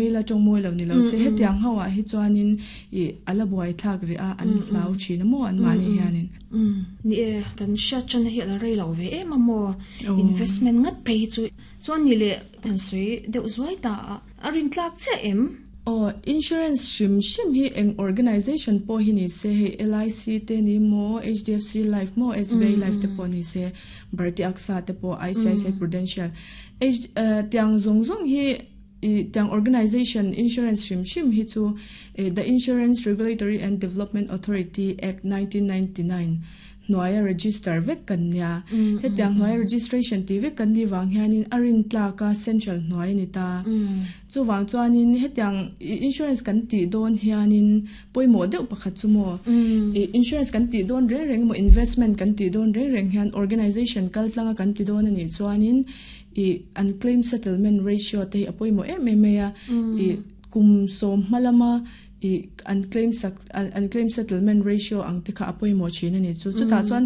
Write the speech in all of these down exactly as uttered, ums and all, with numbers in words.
La tong moi lo ni lo se hetiang hawa hi chuanin i ala buai thak ri a an hlau thin mo an mani hianin. Ni e kan sha chan hi ala rei lo ve e ma mo investment ngat phei chu chuan ni le kan sui deuh zuai ta arin tlak che em. Oh, insurance shim shim hi eng organization po hi ni se he L I C te ni mo H D F C Life mo S B I Life te po ni se Bharti AXA te po I C I C I Prudential H tiang zong zong hi tiang organization insurance shim shim hi chu the Insurance Regulatory and Development Authority Act nineteen ninety-nine noaya register vek kan nia he tiang noaya registration ti vek kan ni wang hianin arin tlaka central noaya ni ta chu wang chuanin he tiang insurance kan ti don hianin poimo deuh pakhat chu mo insurance kan ti don reng reng mo investment kan ti don reng reng hian organization kal tlanga kan ti don ani chuanin i an claim settlement ratio te apoimo em em ya i kum som malama i unclaimed unclaimed settlement ratio ang te kha apoimo chin ani chu chu ta chuan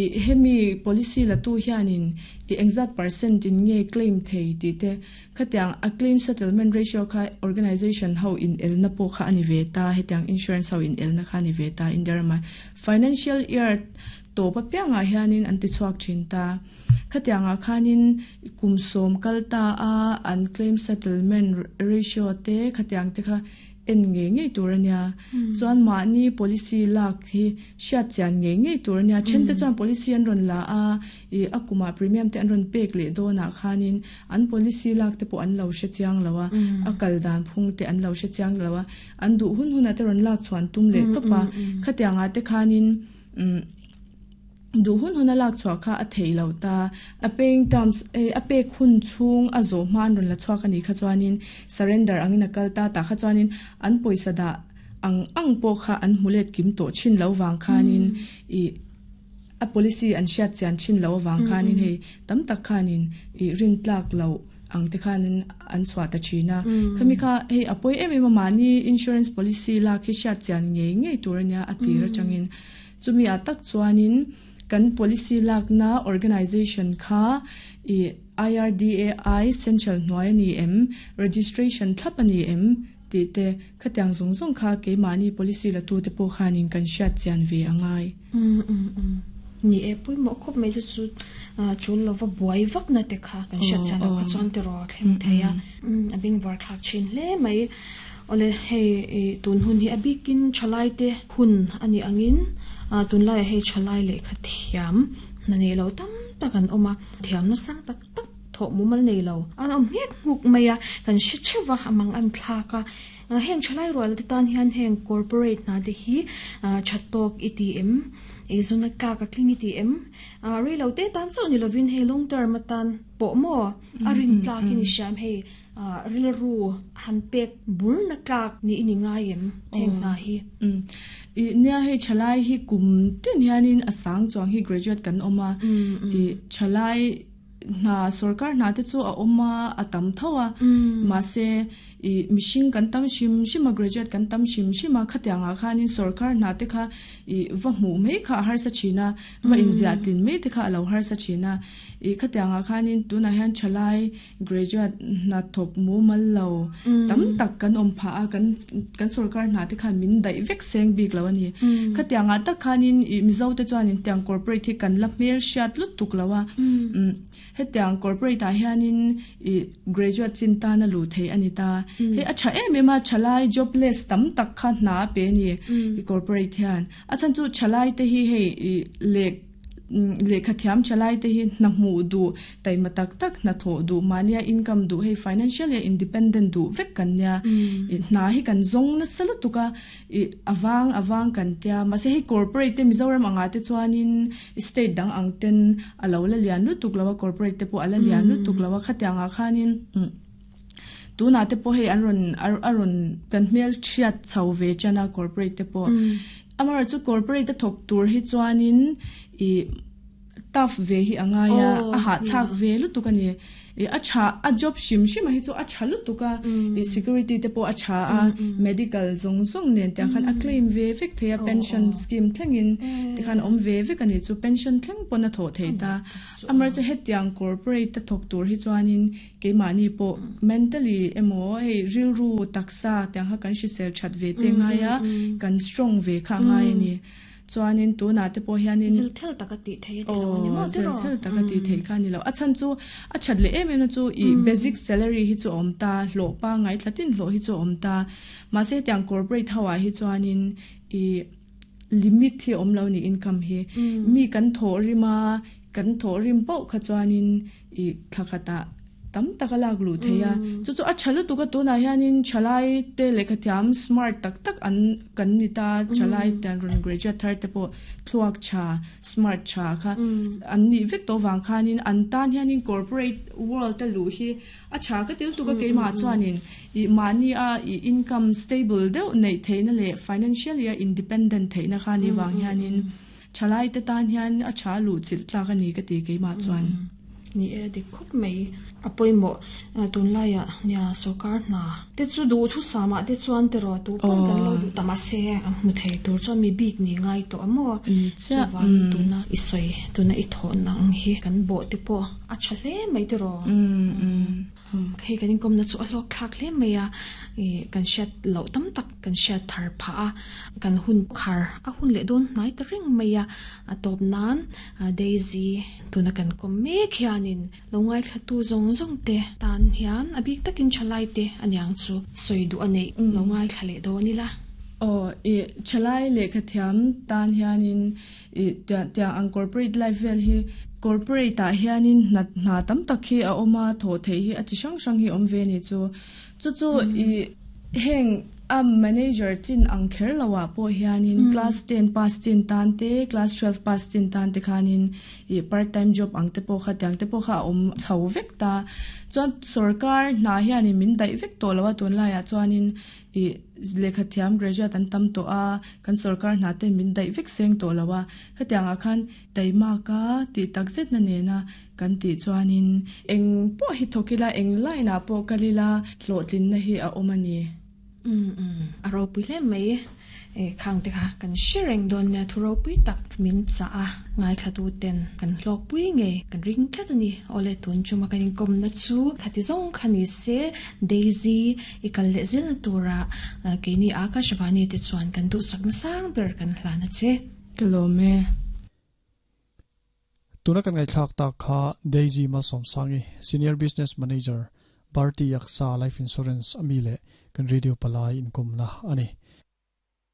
i hemi policy la tu hianin i exact percent in nge claim thei ti te khatiang a claim settlement ratio kha organization ho in el na po kha ani ve ta hetiang insurance ho in el na kha ani ve ta inderma financial year to pa pianga hianin an ti chuak thin ta khatianga khanin kumsom kalta a unclaimed settlement ratio te khatiang te kha en nge nge turania chuan ma ni policy lak hi hriat chian nge nge turania then te chuan policy an ron la a i akuma premium te an ron pek le dona khanin an policy lak te po an lo hre chiang lawa akal dan phung te an lo hre chiang lawa an du hun huna te ron lak chuan tum le topa khatianga te khanin du hun huna lak chua kha a thei lo ta a paying terms a pe khun chung a zo man ron la chua ka ni kha chuanin surrender angin akal ta ta kha chuanin an poisa da ang ang po kha an mulet kim to chin lo wang khanin i a policy an hriat chian chin lo wang khanin hei tam tak khanin i rin tlak lo ang te khanin an chua ta china khami kha hei apoi em em mani insurance policy la khi hriat chian nge nge turania atira changin chumi atak chuanin kan policy lak na organization kha i I R D A I central noi ni em registration thapani em ti te khatiang zong zong kha ke mani policy la tu te po khanin kan hriat chian ve angai. mm mm mm ni e pui mo khop mai chu chul lova buai vak na te kha kan hriat chian kha chuan te ro thleng theia abing war thlak chin hle mai ole hei tun hun hi abikin chalai te hun ani angin tun lai hei chalai le kha thiam na nei lo tam takan oma thiam na sang tak tak tho mumal nei lo an om ngek nguk maya kan shi chewa amang an thlaka heng chalai rol te tan hian heng corporate na te hi chatok E T M ezona ka ka kling E T M re lo te tan chau ni lovin hei long term atan po mo arin tlak ni sham hei ril ru han pek bur na tlak ni ini ngaim heng na hi. I nia hei chalai hi kum tin hianin asang chuang hi graduate kan oma i chalai na sarkar na te chu a oma atam thawa ma se i mishing kan tam shim shima graduate kan tam shim shima khatianga khanin sarkar na te kha i va mu mei kha har sa china va inzia tin mei te kha alo har sa china i khatianga khanin tuna hian chalai graduate na thok mu mal lo tam tak kan om pha a kan kan sarkar na te kha min dai vek seng bik lo ani khatianga tak khanin i mizo te chuanin tiang corporate hi kan la hmel hriat lut tuk lawa hetiang corporate a hianin i graduate chinta na lu thei ani ta he acha em ema chalai jobless tam tak kha na pe ni i corporate hian achan chu chalai te hi hei le le khathiam chalai te hi na mu du tai matak tak na tho du mania income du hei financially independent du vek kan nya na hi kan zong na salu tuka i awang awang kan tia ma se hei corporate te Mizoram anga te chuanin state dang ang ten alo la lian lu tuk lawa corporate te po ala lian lu tuk lawa khatianga khanin tu na te po hei an ron aron kan hmel thiat chau ve chana corporate te po amara chu corporate te thok tur hi chuanin i Tough ve hi angaya a ha thak ve lutuk ani e a cha a job shim shim hi chu a cha lutuka e security te po a cha a medical zong zong nen te khan a claim ve vek theya pension scheme thlengin te khan om ve vek ani chu pension thleng pon a tho thei ta amar chu hetiang corporate ta thok tur hi chuanin ke mani po mentally emo hei ril ru taksa te ha kan shi sel chat ve te nga ya kan strong ve kha ngai ni chuanin tu na te po hianin zil thel taka ti thei ti lo ni mo zil thel taka ti thei kha ni lo a chan chu a chat le em em na chu i basic salary hi chu om ta hlo pa ngai thlatin hlo hi chu om ta ma se tiang corporate hawa hi chuanin i limit hi om lo ni income hi mi kan tho rima kan tho rim pau kha chuanin i thlakhata tam takalak lu theya chu chu a chalu tu ka tu na hianin chalai te lekhathiam smart tak tak an kan ni ta chalai tan run graduate thar te po thluak cha smart cha kha an ni vek to wang khanin an tan hianin corporate world te lu hi a cha ka tel tu ka keima chuanin i mani a i income stable deuh nei theina le financially independent theina kha ni wang hianin chalai te tan hian a cha lu chil tla ka ni ka ti keima chuan ni e de khop mai apoi mo tun laia nia sokar na te chu du thu sama te chuan te ro tu pon kan lo du tama se mu thei tur chuan mi bik ni ngai to amo chuan tuna isoi tuna i tho nang hi kan bo te po a chale mai te ro hei kan kom na chu a hlok thlak hle mai a e kan shat lo tam tak kan shat thar pha a kan hun khar a hun le don nai ta ring mai a a top nan Daisy tuna kan kom me khianin longai thlatu zong zong te tan hian abik takin chalai te anyang chu soi du anei longai thlale do ni la o e chalai le khathiam tan hianin e tia ang corporate life vel hi corporate a hianin na na tam tak hi a oma tho thei hi a chi sang sang hi om ve ni chu chu chu i heng a manager chin ang kher lawa po hianin class ten pass chin tan te class twelve pass chin tan te khanin i part time job ang te po kha tiang te po kha om chau vek ta chuan sarkar na hianin min dai vek to lawa tun la ya chuanin i lekhathiam graduate an tam to a kan sarkar na te min dai vek seng to lawa khatiang a khan taima ka ti takzet na ne na kan ti chuanin eng po hi thokila eng line a po kalila hlotlin na hi a omani um um aro pui le mai e khang te kha kan sharing don na thuro pui tak min cha a ngai thatu ten kan hlok pui nge kan ring tlat ani ole tun chuma kan kom na chu khati zong khani se Daisy ikal le zil tura ke ni Akashvani te chuan kan du sakna sang ber kan hlana che klome tuna kan ngai thlak ta kha Daisy ma som sangi senior business manager Bharti Aksa Life Insurance amile kan radio palai income na ani.